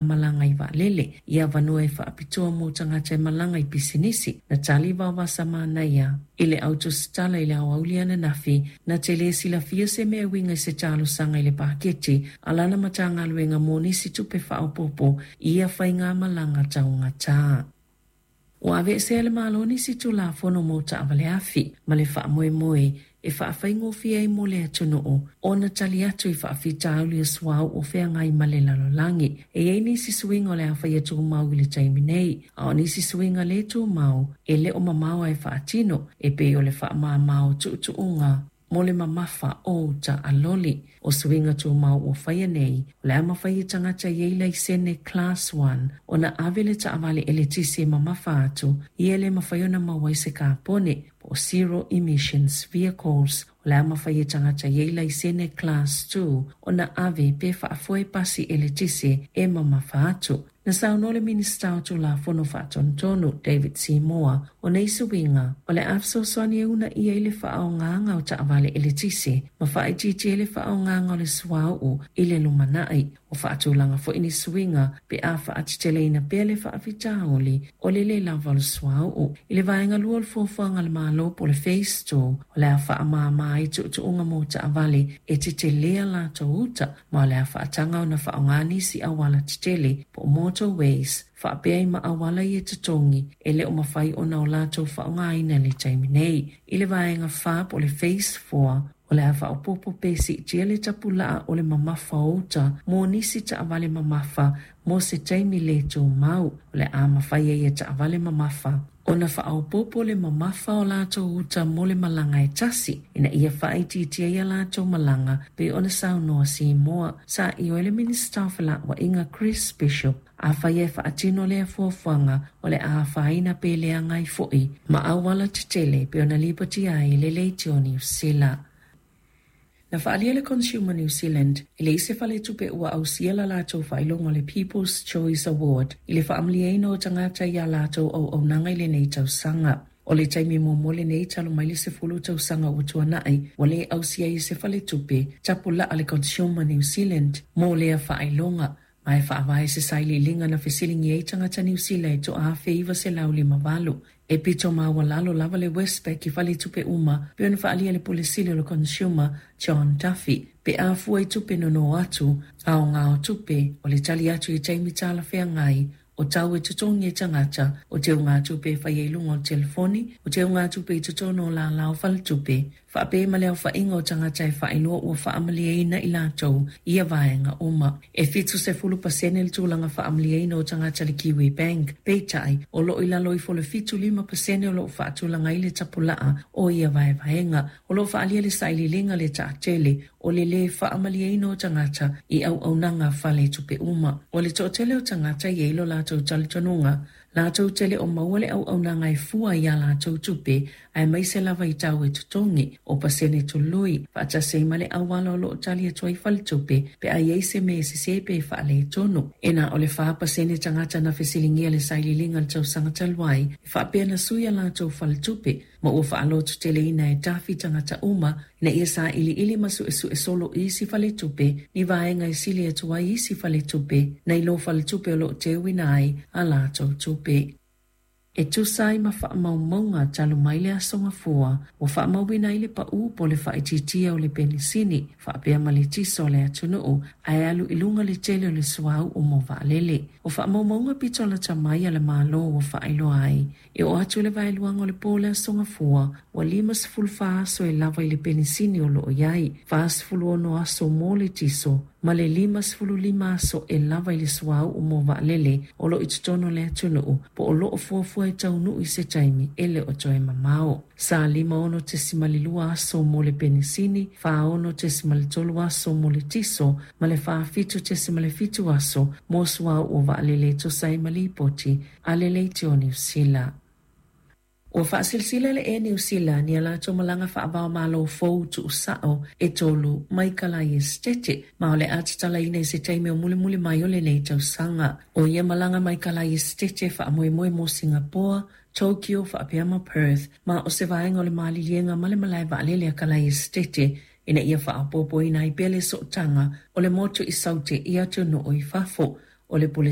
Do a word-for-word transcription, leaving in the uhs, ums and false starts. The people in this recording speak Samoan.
Malaga i vaalele i avanoa e faapitoa mo tagata e malaga i pisinisi. Na tali Vaovasamanaia i le autusitala i le aoauli ananafi na te le silafia se mea e uiga i se talosaga i le paketi a lana Matagaluega mo nisi tupe faaopoopo i ia faigamalaga taugatā. Ua aveesea e le Malo nisi Tulafono mo taavale afi ma le faamoemoe e faafaigofie ai mo le atunuu ona tali atu i faafitauli o suauu o feagai ma le lalolagi. E i ai nisi suiga o le a faia tumau i le taimi nei, a o nisi suiga le tumau e le o mamao ae faatino, e pei o le faamama o tuutuuga mo le mamafa o uta a loli. O suiga tumau ua faia nei, o le a mafai e tagata e i ai laisene Class one ona ave le taavale eletise e mamafa atu ia e le mafai ona maua ai se kapone, po o zero emissions vehicles. O le a mafai e tagata e i ai laisene Class two ona ave pe faafoe pasi eletise e mamafa atu. Na saunoa le Minisita o Tulafono Faatonutonu David Seymour, o nei suiga o le a fesoasoani e uunaia ai le faaaogaga o taavale eletise ma faaitiitia ai le faaaogaga o le suauu i le lumanai. Ua faatulaga foi ni suiga pe a faateteleina pea le faafitauli o le le lava o le suauu. I le vaega lua o le fuafuaga a le Malo po o le Phase two, o le a faamama ai tuutuuga mo taavale e tetelea latou uta, ma o le a faataga ona faaaoga nisi auala tetele po o motorways faapea ai ma auala ia totogi e le o mafai ona o latou faaaogaina i le taimi nei. I le vaega fa po o le Phase four, o le a faaopoopo pe siitia le tapulaa o le mamafa o uta mo nisi taavale mamafa mo se taimi le tumau. O le a mafai ai e taavale mamafa ona faaopoopo le mamafa o latou uta mo le malaga e tasi ina ia faaitiitia ai a latou malaga, pei ona saunoa Seymour. Sa ioe le Minisita o Felauaiga Chris Bishop, afai e faatino lea fuafuaga, o le a afaina pe leaga ai foi ma auala tetele, pei ona lipotia ai e le Leitio Niu Sila. Na faaalia le Consumer New Zealand e leai se faletupe ua ausia la latou faailoga o le People's Choice Award i le faamalieina o tagata iā latou auaunaga i lenei tausaga. O le taimi muamua lenei talu mai le sefulu tausaga ua tuanai ua le ausia ai e se faletupe tapulaa le Consumer New Zealand mo lea faailoga, ma e faavae se sailiiliga na fesiligia ai tagata Niu Sila e toaafe iva selau lima valu. E pito maualalo lava le Westpac i faletupe uma, pei ona faaalia le Pule Sili o le Consumer John Duffy. Pe a fua i tupe nono atu, aoga o tupe, o le tali atu i taimi talafeagai, o tau e totogi e tagata, o teugatupe e faia i luga o le telefoni, o teugatupe i totonu o lala o faletupe, faapea ma le aofaiga o tagata e faailoa ua faamalieina i latou i ia vaega uma. E fitu sefulu pasene le tulaga faamalieina o tagata i le Kiwi Bank, peitai o loo i lalo ifo o le fitu lima pasene o loo faatulaga ai le tapulaa o ia vaevaega. O loo faaalia le sailiiliga le taatele o le lē faamalieina o tagata i auaunaga faletupe uma. O le toatele o tagata e i ai lo latou talitonuga latou te le o maua le auaunaga e fua iā latou tupe aemaise lava i tau e totogi o pasene tului faatasi ai ma le auala o loo tali atu ai faletupe pe a i ai se mea e sesē pe faaletonu. E na o le fa pasene tagata na fesiligia le sailiiliga i le tausaga talu ai e faapea na sui a latou faletupe, ma ua faalototeleina e Duffy tagata uma ina ia sailiili ma suesue solo i isi faletupe ni vaega e sili atu ai isi faletupe nai lo faletupe o loo teuina ai a latou tupe. E tusa ai ma faamaumauga talu mai le Aso Gafua, ua faamauina ai le paū po o le faaitiitia o le penisini faapea ma le tiso o le atunuu, ae alu i luga le tele o le suauu mo vaalele. O faamaumauga pito lata mai a le Malo ua faailoa ai, e oo atu i le vaeluaga o le po o le Aso Gafua, ua lima sefulu fa aso e lava i le penisini o loo i ai, fa sefulu ono aso mo le tiso, ma le lima sefulu lima aso e lava i le suauu mo vaalele o loo i totonu o le atunuu po o loo fuafua e taunuu i se taimi e le o toe mamao. Sa lima ono tesimale lua aso mo le penisini, fa ono tesimale tolu aso mo le tiso, ma le fa fitu tesimale fitu aso mo suauu o vaalele e tusa ai ma lipoti a le Leitio Niu Sila. Ua faasilasila le Air New Zealand i a latou malaga faava-o-Malo fou tuusao e tolu mai Kalaia Esetete, ma o le a tatalaina i se taimi o mulimuli mai o lenei tausaga. O ia malaga mai Kalaia Esetete e faamoemoe mo Singapoa, Tokyo faapea ma Perth, ma o se vaega o le maliliega ma le malae vaalele a Kalaia Esetete ina ia faaopoopoina ai pea le sootaga o le motu i Saute i atunuu i fafo. O le Pule